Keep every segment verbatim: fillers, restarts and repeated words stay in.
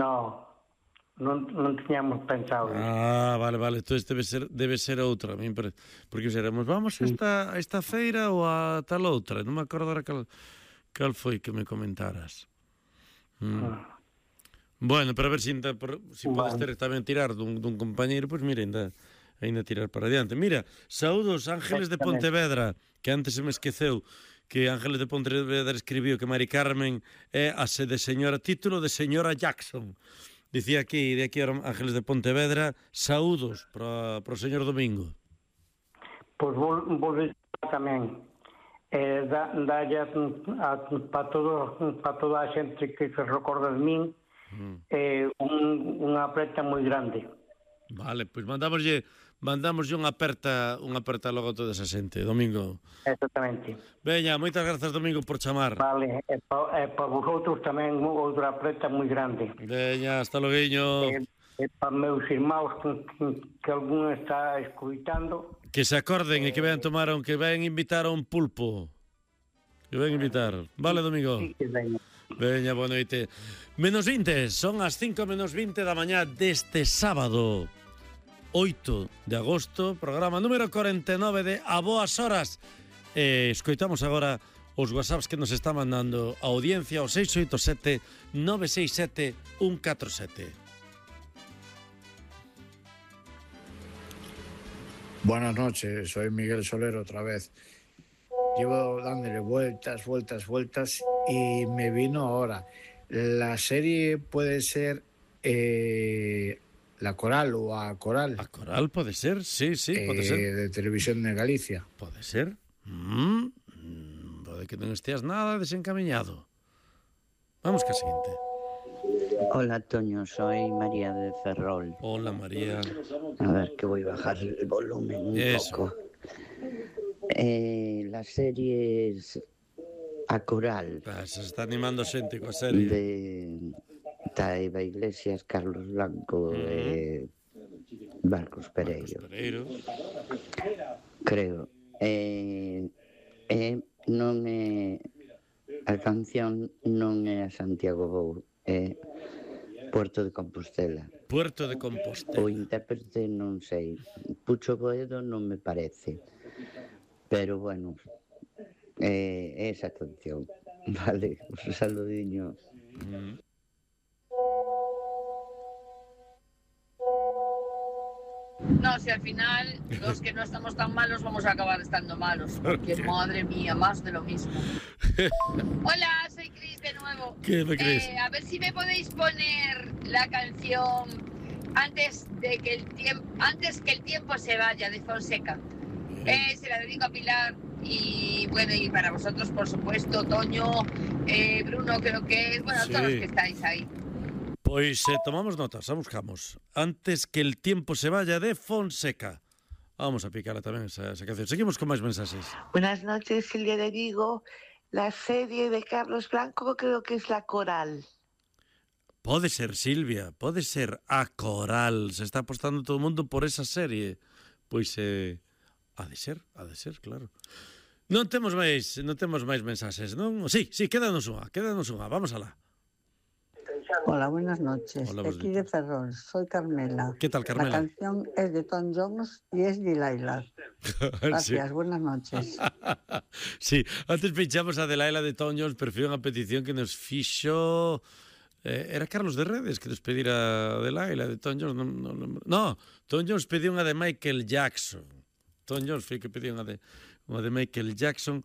No, non, non tiñamos pensado. Ah, vale, vale, entón debe ser, debe ser outra, porque seremos, vamos a esta, a esta feira ou a tal outra, non me acordo ahora cal, cal foi que me comentaras. Mm. Ah. Bueno, pero a ver se si, si podes ter tamén tirar dun, dun compañeiro, pois pues mira, ainda, ainda tirar para adiante. Mira, saúdos Ángeles de Pontevedra, que antes se me esqueceu que Ángeles de Pontevedra escribiu que Mari Carmen é a de señora, título de señora Jackson. Dicía aquí, de aquí Ángeles de Pontevedra, saúdos para, para o señor Domingo. Pois vou, vou dizer tamén, eh, da, dalle para todo, para toda a xente que se recorda de min, mm. eh, un, unha aperta moi grande. Vale, pois mandamoslle mandamoslle unha aperta, unha aperta logo a toda esa xente, Domingo. Exactamente. Veña, moitas grazas, Domingo, por chamar. Vale, e para pa vosotros tamén outra aperta moi grande. Veña, hasta loguiño. E, e para meus irmãos que, que algún está escuitando. Que se acorden e que vean tomar, que vean invitar a un pulpo. Que vean invitar. Vale, Domingo? Sí, que veña. Veña, boa noite. Menos vinte, son as cinco menos vinte da mañá deste sábado oito de agosto, programa número cuarenta e nove de A Boas Horas. Eh, escoitamos agora os whatsapps que nos está mandando a audiencia ao seis oito sete nove seis sete un catro sete. Buenas noches, soy Miguel Soler otra vez. Llevo dándole vueltas, vueltas, vueltas y me vino ahora. La serie puede ser eh, La Coral o A Coral. A Coral puede ser, sí, sí, eh, puede ser. De Televisión de Galicia. Puede ser. Mm, puede que non esteas nada desencamiñado. Vamos que a siguiente. Hola, Toño, soy María de Ferrol. Hola, María. A ver, que voy a bajar el volumen un Eso. poco. Eh, la serie es A Coral. Ah, se está animando xente coa serie. De Eva Iglesias, Carlos Blanco e uh-huh. eh, Marcos Pereiro. Marcos Pereiro. Creo. Eh, eh, non é... A canción non é a Santiago Bou, é Puerto de Compostela. Puerto de Compostela. O intérprete non sei. Pucho Boedo non me parece. Pero bueno, é eh, esa canción. Vale, un saludiño. Mm. No, si al final los que no estamos tan malos vamos a acabar estando malos. Porque madre mía, más de lo mismo. Hola, soy Cris de nuevo. ¿Qué me crees? Eh, a ver si me podéis poner la canción antes de que el tiempo, antes que el tiempo se vaya, de Fonseca. Eh, se la dedico a Pilar y bueno, y para vosotros, por supuesto, Toño, eh, Bruno, creo que es, bueno, sí. Todos los que estáis ahí. Pois eh, tomamos notas, a buscamos. Antes que el tiempo se vaya, de Fonseca. Vamos a picarla tamén esa, esa canción. Seguimos con máis mensajes. Buenas noches, Silvia de Vigo. La serie de Carlos Blanco creo que es La Coral. Pode ser, Silvia, pode ser A Coral. Se está apostando todo o mundo por esa serie. Pois eh, ha de ser, ha de ser, claro. Non temos máis, non temos máis mensaxes, non? Sí, sí, quédanos unha, quédanos unha. Vamos alá. Hola, buenas noches. Hola, Aquí de Ferrol, soy Carmela. ¿Qué tal, Carmela? La canción es de Tom Jones y es Delilah. Gracias, sí. Buenas noches. Sí, antes pinchamos a Delilah de Tom Jones, pero foi unha petición que nos fixo... Eh, era Carlos de Redes que nos pedira a Delilah de Tom Jones. No, no, no, no, Tom Jones pediu unha de Michael Jackson. Tom Jones foi que pediu unha de, unha de Michael Jackson.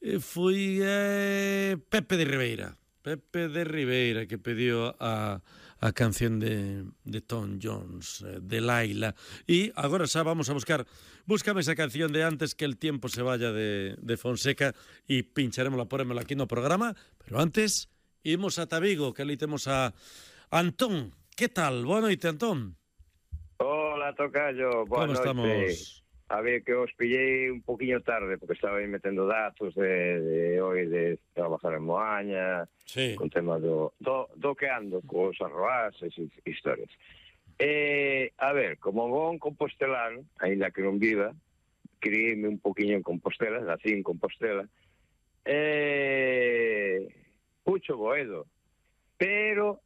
E foi eh, Pepe de Ribeira. Pepe de Ribeira que pediu a, a canción de, de Tom Jones, eh, de Laila. E agora xa vamos a buscar, búscame esa canción de Antes que el tiempo se vaya de, de Fonseca e pincharemosla, porémosla aquí no programa, pero antes imos a Tabigo, que ali temos a Antón. Que tal? Boa noite, Antón. Hola, tocayo. Boa Como noite. Estamos? A ver, que os pillei un poquinho tarde, porque estaba aí metendo datos de, de hoy, de trabajar en Moaña, sí. Con tema do, do, do que ando, cos arroases e historias. Eh, a ver, como bon compostelán, ainda que non viva, criíme un poquinho en Compostela, nací en Compostela, eh, Pucho Boedo, pero